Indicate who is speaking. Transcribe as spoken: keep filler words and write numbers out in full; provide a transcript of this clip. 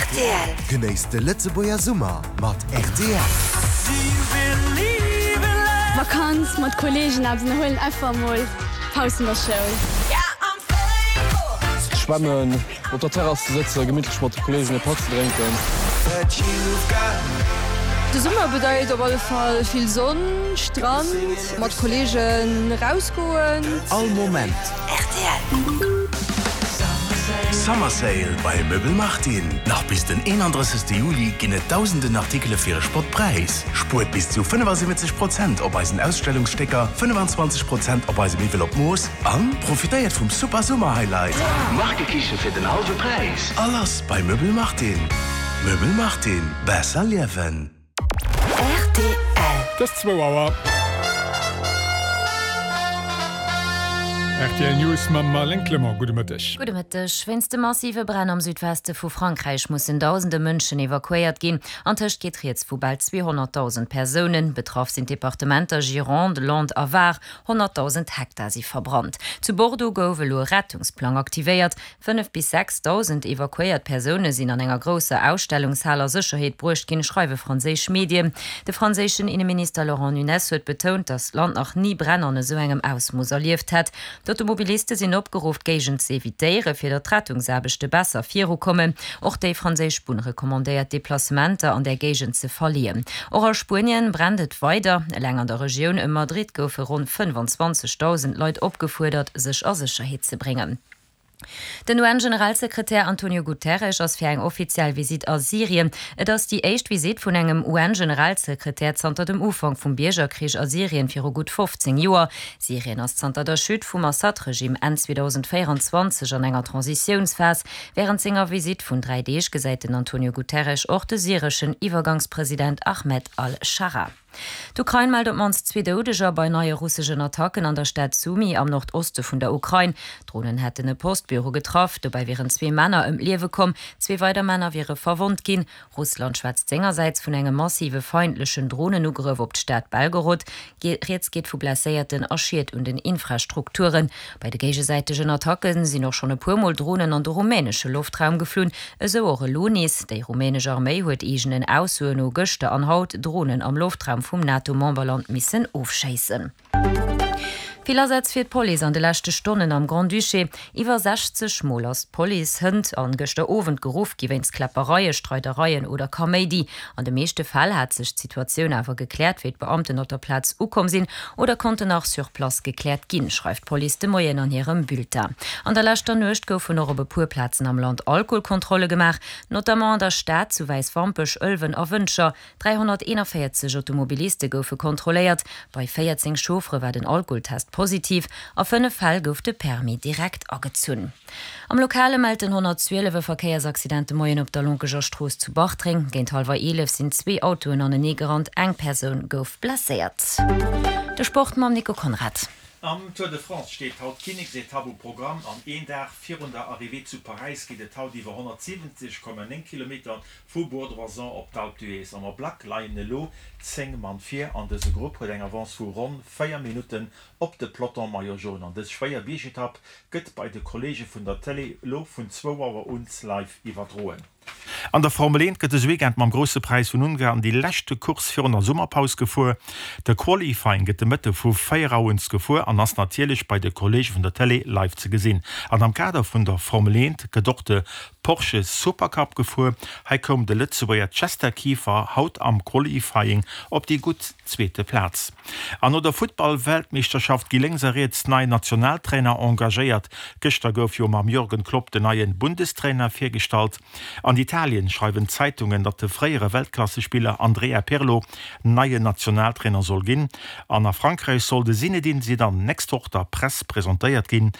Speaker 1: R T L.
Speaker 2: Genéisst de Lëtzebuerger Summer mat R T L.
Speaker 3: Vakanz mat Kolleegen, huelen einfach mol Paus an der Schoul.
Speaker 4: Schwammen, op der Terrass ze sëtzen, gemittlech mat de Kolleegen e Patt ze drénken.
Speaker 5: De Summer bedeit op alle Fall vill Sonn, Strand, mat Kolleegen rausgoen.
Speaker 2: All Moment.
Speaker 1: R T L.
Speaker 6: Summer Sale bei Möbel Martin. Nach bis den eenandrëssegste Juli ginn et dausenden Artikele fir e Spottpräis. Spuert bis zu fënnefasiwwenzeg Prozent op eisen Ausstellungsstécker, fënnefenzwanzeg Prozent op eise Miwwel op Mooss an profitéiert vum Super Summer Highlight. Markekiche fir den hallwe Präis. Alles bei Möbel Martin. Möbel Martin. Besser liewen.
Speaker 1: R T L.
Speaker 7: Et ass zwou Auer. R T L News mam Marlène Clement. Gudde Mëtteg.
Speaker 8: Gudde Mëtteg. Wéinst de massive Bränn am Südweste vu Frankräich mussen dausende Mënschen evakuéiert ginn. Antëscht geet rieds vu bal zweehonnertdausend Persounen. Betraff sinn d'Departementer Gironde, Landes a Var. honnertdausend Hektar si verbrannt. Zu Bordeaux gouf elo e Rettungsplang aktivéiert. Fënnef bis sechsdausend evakuéiert Persoune sinn an enger grousser Ausstellungshal a Sécherheet bruecht ginn, schreiwe franséisch Medien. De franséischen Inneminister Laurent Nunez huet betount, datt d'Land nach ni Bränn an esou engem Ausmooss erlieft hätt. D'Automobiliste sinn opgeruff, d'Géigend ze evitéieren, fir datt d'Rettungsaarbechte besser virukommen. Och déi franséisch Bunn recommandéiert, Deplacementer an där Géigend ze verleeën. Och a Spuenien brennt et weider. Eleng an der Regioun ëm Madrid goufe ronn fënnefenzwanzegdausend Leit opgefuerdert, sech a Sécherheet ze bréngen. Den U N-Generalsekretär Antonio Guterres ass fir eng offiziell Visitt a Syrien. Et ass déi éischt Visitt vun engem U N-Generalsekretär zanter dem Ufank vum Biergerkrich a Syrien viru gutt fofzéng Joer. Syrien ass zanter der Chute vum Assad-Regime Enn zweedausendvéierenzwanzeg an enger Transitiounsphas. Wärend senger Visitt vun dräi Deeg gesäit den Antonio Guterres och de syreschen Iwwergangspresident Ahmed al-Schara. D'Ukrain mellt op d'mannst zwee Doudeger bei neie russeschen Attacken an der Stad Sumy am Nordoste vun der Ukrain. Dronen hätten e Postbüro getraff, dobäi wieren zwee Männer ëm d'Liewe komm, zwee weider Männer wiere verwonnt ginn. Russland schwätzt sengersäits vun engem massive feindlechen Dronenugrëff op d'Stad Belgorod. Rieds geet vu Blesséierten a Schied un den Infrastrukturen. Bei de géigesäitegen Attacke sinn och schonn e puer Mol Dronen an de rumänesche Loftraum geflunn, esou och elo nees. Déi rumänesch Arméi huet eegenen Aussoen no gëschter an haut Dronen am Loftraum vum NATO-Memberland missen ofschéissen. Vill Asätz fir d'Police an de leschte Stonnen am Grand-Duché. Iwwer sechzeg Mol ass d'Police hënt an gëschter Owend geruff gi wéinst Kläppereie, Streidereien oder Kaméidi. An de meeschte Fäll hat sech d'Situatioun awer gekläert, wéi d'Beamten op der Plaz ukomm sinn oder konnten nach sur place gekläert ginn, schreift d'Police de Moien an hirem Bulletin. An der leschter Nuecht goufen och op e puer Plazen am Land Alkoholkontrolle gemaach, notamment an der Stad, zu Wäiswampech, Ëlwen a Wëntger. dräihonnerteenanvéierzeg Automobiliste goufe kontrolléiert, bei véierzéng Chauffere war den Alkoholtest positiv, a fënnef Fäll gouf de Permis direkt agezunn. Am Lokale mellt den honnertzwielef e Verkéiersaccident de Moien op der Lonkeger Strooss zu Bartreng. Géint hallwer eelef sinn zwee Autoen anenee gerannt, eng Persoun gouf blesséiert. De Sport mam Nico Conrad.
Speaker 9: Am Tour de France steet haut d'Kinneksetapp um Programm an een Dag virun der Arrivée zu Paräis geet et haut iwwer honnertsiwwenzeg Komma néng Kilometer vu Bourg-d'Oisans op d'Alpe d'Huez. Am Ablack leien elo zéng Mann vir an dëse Grupp huet eng Avance vu ronn véier Minutten op de Peloton Maillot Jaune. An dës schwéier Biergetapp gëtt bei de Kolleege vun der Tëlee elo vun zwou Auer un live iwwerdroen. An der Formel eent gëtt dëse Weekend mam Grousse Präis vun Ungarn déi leschte Course virun der Summerpaus gefuer. De Qualifying gëtt de Mëtte vu véier Auer un gefuer an ass natierlech bei de Kolleege vun der Tëlee live ze gesinn. An am Kader vun der Formel eent gëtt och de Porsche Supercup gefuer. Hei koum de Lëtzebuerger Chester Kieffer haut am Qualifying op déi gutt zweete Plaz. An no der Futtball-Weltmeeschterschaft gi lénks a riets nei Nationaltrainer engagéiert. Gëschter gouf jo mam Jürgen Klopp den neie Bundestrainer virgestallt. An Italien schreiwen d'Zeitungen, datt de fréiere Weltklassespiller Andrea Pirlo neien Nationaltrainer soll ginn. An a Frankräich soll de Zinedine Zidane nächst Woch der Press presentéiert ginn.